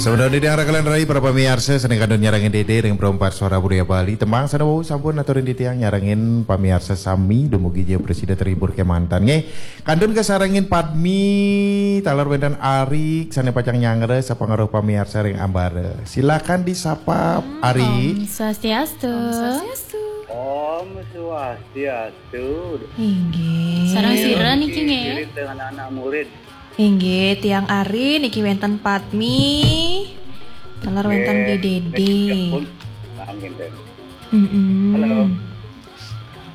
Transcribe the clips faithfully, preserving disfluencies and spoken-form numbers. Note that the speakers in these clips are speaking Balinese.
Sampun titiang rakalan rai para pamiarsa sané kantun nyarengin Dédé ring Perempat Suara Budaya Bali. Tembang sané wau sampun aturin titiang nyarengin pamiarsa sami dumugi ja prasida terhibur kémanten nggih. Kantun kasarengin Padmi taler wénten Ari sané pacang nyanggra sapangaruh pamiarsa ring ambara. Silakan disapa Ari. Om Swastiastu. Om Swastiastu. Om Swastiastu. Inggih. Sareng sira niki nggih. Ngiring dengan anak murid. Inggih, tiang Ari niki wénten Padmi. Taler wénten Nggih, Dédé. Niki pun. Amin, Dédé. Mm-mm. Halo.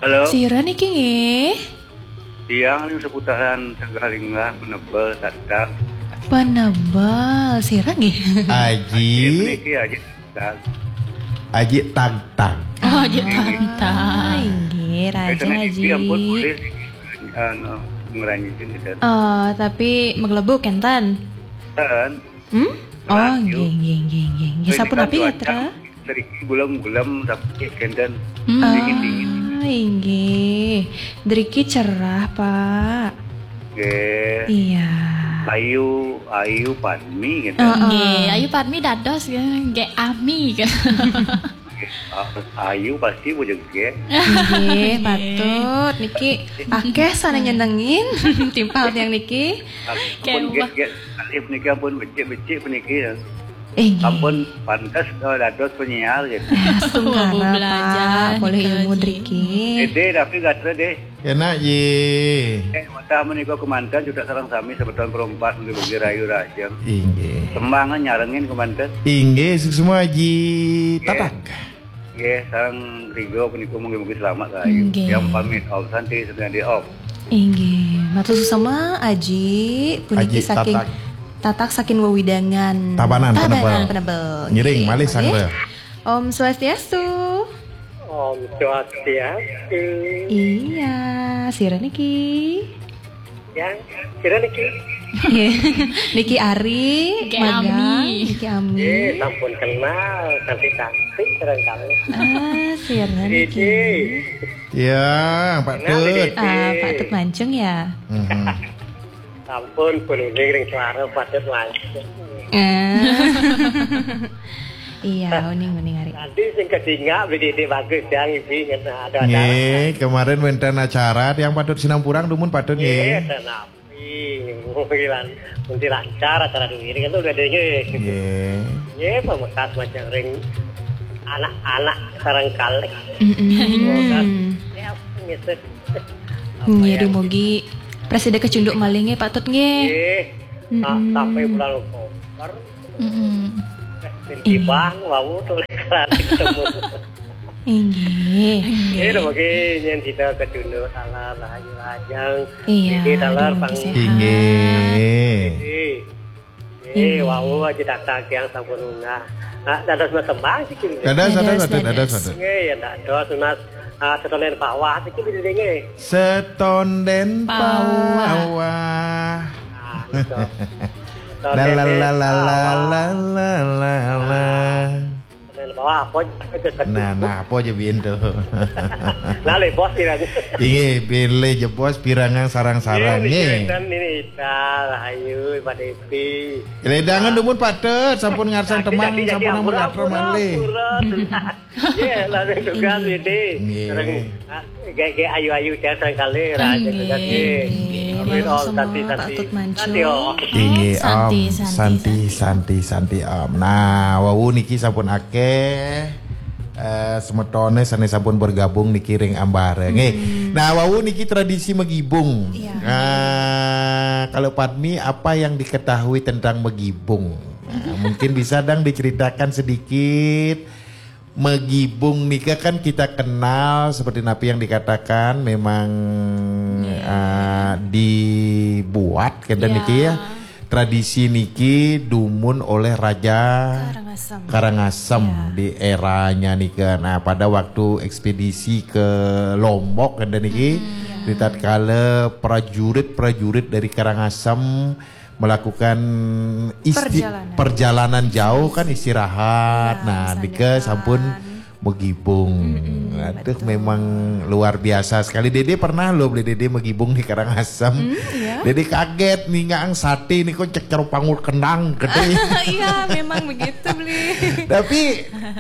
Halo. Sira niki nggih? Tiang ning seputaran Sanggalinggah, Penebel, Tagtag. Penebel, sira nggih? Aji. Niki Aji Tagtag. Aji Tagtag. Oh, Aji Tagtag. Ah, inggih, rajin Aji. Ampun, boleh anu, ngeranjing gitu. Oh, tapi maglebug kénten? Ten. Hmm? Oh, nggih, nggih, nggih, nggih. Nggih, sapunapi gatra? Driki gulem-gulem tapi kénten. Hmm. Dingin-dingin. Ah, inggih. Driki cerah, Pak. Nggih. Iya. Ayu, Ayu Padmi gitu. Heeh. Nggih, Ayu Padmi dados nggih, nggih Ami gitu. Ayu pasti bujegé. Nggih, patut. Niki akéh sané nyenengin timpal tiang niki. Ampun, nggih, nggih. Alif niki ampun becik-becik puniki ya. Eh, nggih. Ampun pantes, eh, dados penyiar gitu. Eh, astungkara, Pak. Polih ilmu driki. Dédé, tapi gatra, Dé. Kénak, Ji. Eh, wantah menika kémanten juga sareng sami semeton Perempat, mugi-mugi rahayu rahajeng. Inggih. Tembang nyarengin kémanten. Inggih, suksma Ji. Nggih. Tatak. Nggih, sareng Rigo punika mugi-mugi selamat rahayu. Nggih. Tiang pamit, Om Santi, Santi Om. Inggih, matur suksma Aji, puniki Aji saking Tatak. Tatak saking wewidangan Tabanan, Tabanan, Penebel. Penebel. Ngiring, nggih, malih malih. Sanggra. Om Swastiastu. Om Swastiastu. Iya, sira niki. Ya, sira niki. Niki Ari, niki Magang, Ami. Niki Ami. Eh, sampun kenal, cantik-cantik barangkali. Ah, sira niki. Dédé. Ya, Pak Tut. Kenal, Dédé. Ah, Pak Tut Mancung ya. Mhm. Sampun, pun uning ring suara Pak Tut Mancung. Ah. Iya, uning-uning Ari. Tadi sing kedingak, Dédé bagus, yang ibu ingat ada acara. Nggih, kemarin wénten acara tiang Pak Tut sinampurang dumun Pak Tut nggih. Nggih, tenang. Ih, mugi lan-, mugi lancar acara duwiri kan udah deh, nggih. Nggih. Nggih, pamekas macam ring anak-anak sareng kalih. Mm-mm. Semoga ya, ngesek. Nggih, dumugi prasida kacunduk malih nggih, Pak Tut nggih. Nggih. Sa-, mm-mm, sampai bulan Oktober. Mm-mm. Eh, inggih. Bang, wau tuh ketemu. Inggih. Inggih, dumugi nyén sida kacunduk taler rahayu rahajeng. Iya, niki taler dumugi pang-, sehat. Inggih. Inggih. Inggih. Wau aja datang tiang sampun unggah. Nah, dados tembang siki. Dados, dados, dados, dados, dados. Dados. Nggih, ya dados, Mas. Ah, Setonden Pawah siki, nggih. Setonden Pawah. Pawah. Ah, gitu. La, la, la, la, la, la, la, la, la. Nah, nah, apa aja pintu. Nah, lé bos pirang. Inggih, pilih jebos pirangan sarang-sarang, nggih, nggih. Nggih, niki wénten niki, Ita, Rahayu, Pak Depi. Ledangan dumun Pak Tut, sampun ngarsang tembang, jadi, jadi, sampun ampun, ampun, malih. Ampun. Nggih, langsung tugas ini. Nggih. Sareng, ah, Gé-gé ayu-ayu tiang sareng kalih, rahayu nggih, tugas nggih. Nggih. Amin, Om, santi, santi. Pak Tut Mancung. Santi, Om. Inggih, santi, Om. Santi, santi, santi, santi, Om. Nah, wau niki sampun akéh, eh, semetoné sané sampun bergabung niki ring ambara, nggih. Hmm. Nah, wau niki tradisi magibung. Iya. Nah, kalau Padmi, apa yang diketahui tentang magibung? Nah, mungkin bisa dang diceritakan sedikit. Magibung nika kan kita kenal seperti napi yang dikatakan memang, iya, eh, dibuat kénten, iya, niki ya. Tradisi niki dumun oleh Raja Karangasem. Karangasem, iya, di eranya nika. Nah, pada waktu ekspedisi ke Lombok kénten niki, hmm, iya, di tatkala prajurit-prajurit dari Karangasem melakukan isti-, perjalanan, perjalanan jauh kan istirahat. Iya, nah, nika sampun magibung. Mm-mm, aduh, betul. Memang luar biasa sekali. Dédé pernah loh beli Dédé magibung di Karangasem. Hmm, iya. Jadi kaget nih ngang sate nih kok cek karo panggul kenang gede. Iya, memang begitu, Bli. Tapi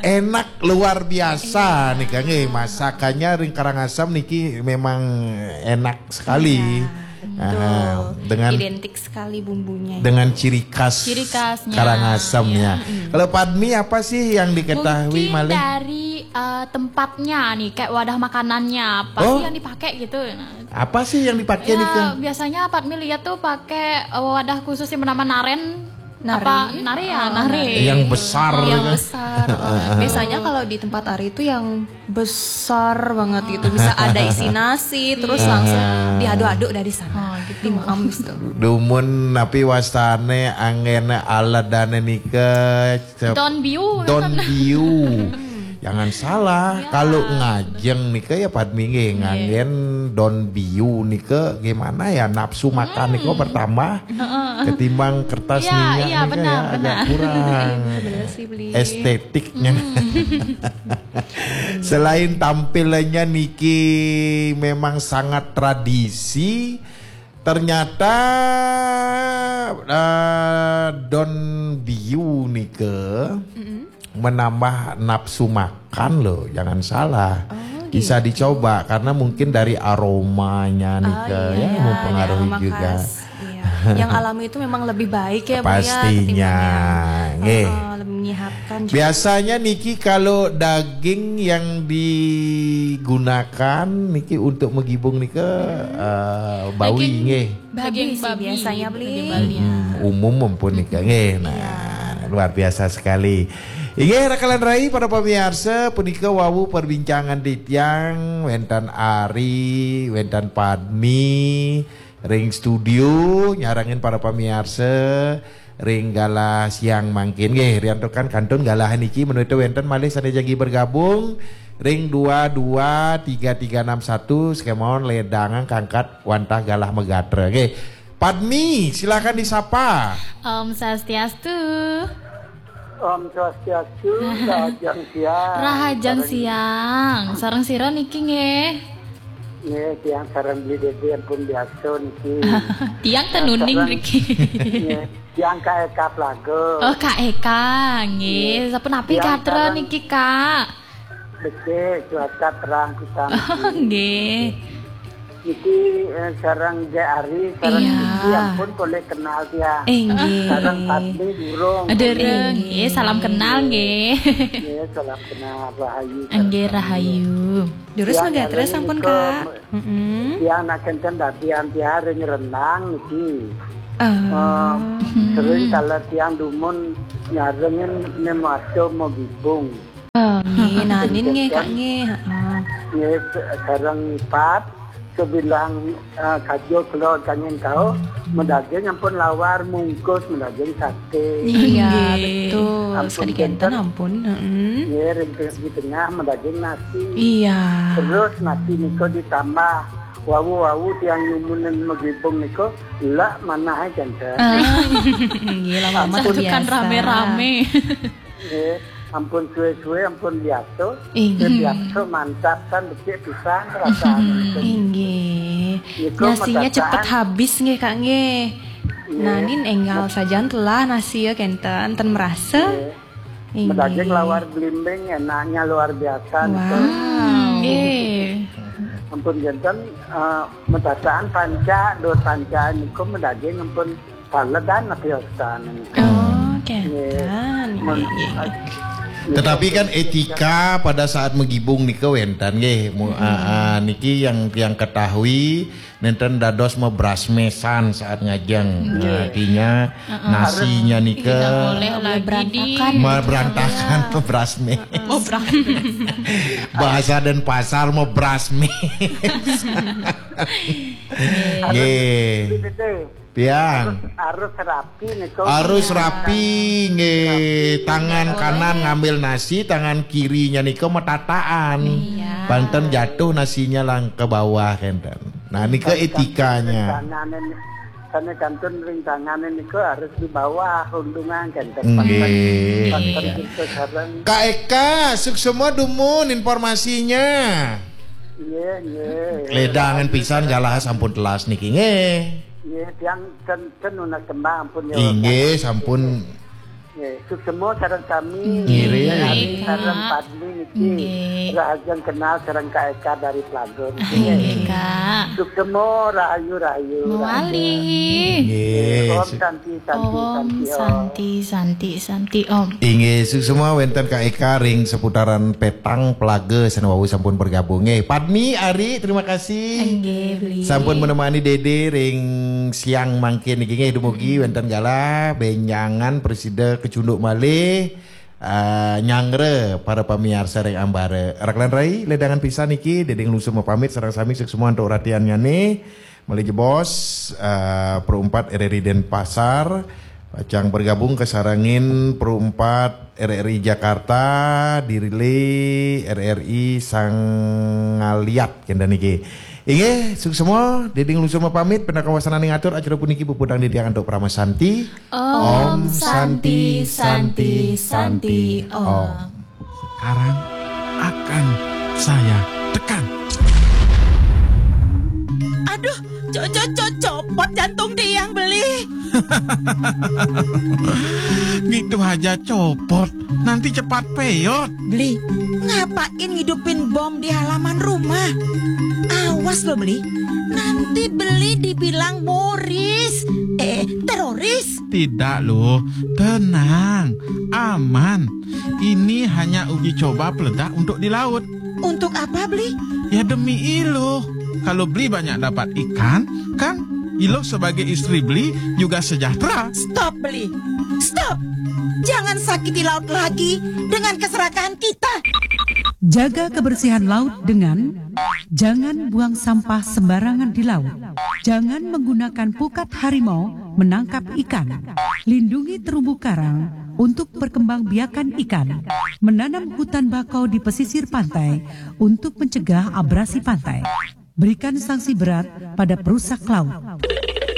enak luar biasa nih, Kang. Eh, masakannya ring Karangasem niki memang enak sekali. Iya, betul. Aha, dengan identik sekali bumbunya. Dengan ciri khas Ciri khasnya. Karangasem ya. Iya. Kalau Padmi, apa sih yang diketahui Mungkin malih? Dari, eh, tempatnya nih, kayak wadah makanannya, apa Oh. sih yang dipakai gitu? Nah, Apa sih yang dipakai ya, nih, Kang? Biasanya Padmi lihat tuh pakai, eh, wadah khusus yang bernama naren. Apa Nari. Nari ya? Oh, Nari. Nari. Yang besar Yang gitu. Besar. Oh. Biasanya kalau di tempat Ari itu yang besar banget gitu, bisa ada isi nasi, terus Iya. langsung diaduk-aduk dari sana. Oh, gitu. Dimakan gitu. Dumun napi wastane anggene aladane nika cep- Don biu, Don kan? Biu. Jangan salah, Ya. Kalau ngajeng nika ya Padmi nggih, Nggih. Nganggen don biu nika gimana ya, nafsu makan nika Hmm. bertambah Heeh. ketimbang kertas Iya, minyak iya, nika benar, ya agak benar. Kurang Benar sih, Bli. Estetiknya. Hmm. Selain tampilannya niki memang sangat tradisi, ternyata, eh, don biu nika Mm-mm. menambah nafsu makan loh, jangan salah. Oh, Bisa gitu. Dicoba karena mungkin dari aromanya Oh, nika iya, ya iya, mempengaruhi aroma juga. Khas. Iya. Yang alami itu memang lebih baik ya, Bu, ya, Pastinya. Ketimbang yang, Nggih. Heeh, lebih menyehatkan juga. Biasanya niki kalau daging yang digunakan niki untuk megibung nika, eh, bawi Daging nggih. Babi Daging sih babi, biasanya, Bli. Daging babi. Hmm, umum ampun nika nggih. Nah, Iya. Luar biasa sekali. Inggih, rakalan rai para pamiarsa, punika wau perbincangan titiang wenten Ari, wenten Padmi, ring studio, nyarengin para pamiarsa, ring galah siang mangkin. Nggih, riantukan kantun galah niki menawi wenten malih sane jagi bergabung ring dua dua tiga tiga enam satu, sekemawon ledangan kangkat wantah galah megatra. Nggih. Padmi, silakan disapa. Om Swastiastu. Om Swastiastu, rahajeng siang. Rahajeng Sareng siang. Sareng sira niki nggih? Nggih, tiang sareng Bli Dede ampun biasa niki. Tiang tenuning Sareng niki. Nggih, tiang Kak Eka Plaga. Oh, Kak Eka, nggih. Nggih. Sapunapi Tiang gatra sareng niki, Kak? Becik, cuaca terang pisan Oh, niki. Nggih. Niki, eh, sareng Dek Ari, sareng Iya. Niki ampun boleh kenal tiang. Inggih. Sareng Padmi durung. Durung, Inggih. Nggih, salam kenal nggih. Nggih, salam kenal, rahayu. Inggih, rahayu. Durus Tiang mangga terus niki ampun, Kak. Mm-mm. Tiang nak kenten dadi antiare nyerenang niki. Oh. Eh, Hmm. Sering kalau tiang dumun nyarengin ne maco mau gibung. Oh, nggih, nanin nggih, Kak, nggih. Heeh. Nggih, se-, sareng Pat, sebilang, eh, kajo kelo kangen kau, medaging ampun lawar mungkus, medaging sate. Iya, Nggih. Betul. Ampun Sekali kenten kenten. Ampun, heeh. Nggih, ring te-, di tengah medaging nasi. Iya. Terus nasi niko ditambah wau-wau tiang nyumunin megibung niko, lak manah ae kenten. Ah, nggih, lama-lama Ampun. Satukan terbiasa. Rame-rame. Nggih, ampun suwe-suwe, ampun biasa. Inggih. Suwe biasa mantap kan becik pisan rasane. Inggih. Niku Nasinya cepet medasaan. Habis nggih, Kak, nggih. Nggih. Nanin enggal sajan telah nasi ya kenten, ten merasa. Nggih. Inggih. Medaging lawar belimbing enaknya luar biasa niku. Wow. Hmm, nggih. Ampun kenten, eh, medasaan panca, dot panca niku medaging ampun paledan api ostan niku. Oh, Nggih. Kenten. Mun, Nggih, nggih, nggih. Tetapi kan etika pada saat megibung nika wenten nggih. Mu-, Mm-mm. Ah, ah, niki yang, yang ketahui nenten dados mebrasmesan saat ngajeng. Nggih. Artinya Heeh. Nasinya nika Tidak boleh Nggak boleh lagi berantakan di gitu, berantakan, Kak. Mebrasmes. Heeh. Mebrasmes. Bahasa Denpasar mebrasmes. Nggih. Nggih. Betul. Pian. Harus, harus rapi niku. Harus Iya. Rapi, nggih. Rapi. Tangan Boleh. Kanan ngambil nasi, tangan kirinya niku metataan. Iya. Banten jatuh nasinya lang ke bawah kenten. Nah, niku etikanya. Rintanganin, karena kantun rintanganin niku harus di bawah undungan kenten. Nggih. Pas, pas, pas, sareng. Kak Eka, suksma dumun informasinya. Nggih, nggih. Ledangan pisan galah sampun telas niki nggih. Nggih, tiang ten, ten nunas tembang ampun ya. Inggih, sampun. Nggih, suksema sareng sami. Nggih. Ari sareng Padmi niki. Nggih. Rahajeng kenal sareng Kak Eka dari Plaga. Inggih, Kak. Suksema rahayu rahayu. Mawali. Nggih. Om Santi Santi Om Santi Om. Santi Santi Santi Om. Inggih, suksema wenten Kak Eka ring seputaran Petang Plaga sane wau sampun bergabung. Nggih, Padmi, Ari, terima kasih. Inggih, Beli. Sampun menemani Dede ring siang mangkin niki. Nggih, dumugi wenten galah benjangan prasida kacunduk malih, ah, nyanggra para pamiarsa ring ambara. Rak lan rai, ledangan pisan niki, Dede nglungsur mapamit sareng sami suksema antuk ratiannyane. Malih jebos, ah, Pro empat R R I Denpasar pacang bergabung kasarengin Pro empat R R I Jakarta, dirili R R I Sangaliat kenten niki. Inggih, suksema, Dede nglungsur mapamit, pinaka wasananing atur acara puniki puputang titiang antuk Parama Santi. Om Santi Santi Santi Om. Sekarang akan saya tekan. Aduh, co co co copot jantung tiang, Beli. Gitu aja copot. Nanti cepat peyot. Beli, ngapain ngidupin bom di halaman rumah? Awas lo, Beli. Nanti Beli dibilang moris. Eh, teroris. Tidak loh, tenang, aman. Ini hanya uji coba peledak untuk di laut. Untuk apa, Beli? Ya demi Iluh. Kalau Beli banyak dapat ikan, kan Iluh sebagai istri Beli juga sejahtera. Stop, Beli. Stop. Jangan sakiti laut lagi dengan keserakahan kita. Jaga kebersihan laut dengan jangan buang sampah sembarangan di laut. Jangan menggunakan pukat harimau menangkap ikan. Lindungi terumbu karang untuk perkembangbiakan ikan. Menanam hutan bakau di pesisir pantai untuk mencegah abrasi pantai. Berikan sanksi berat pada perusak laut.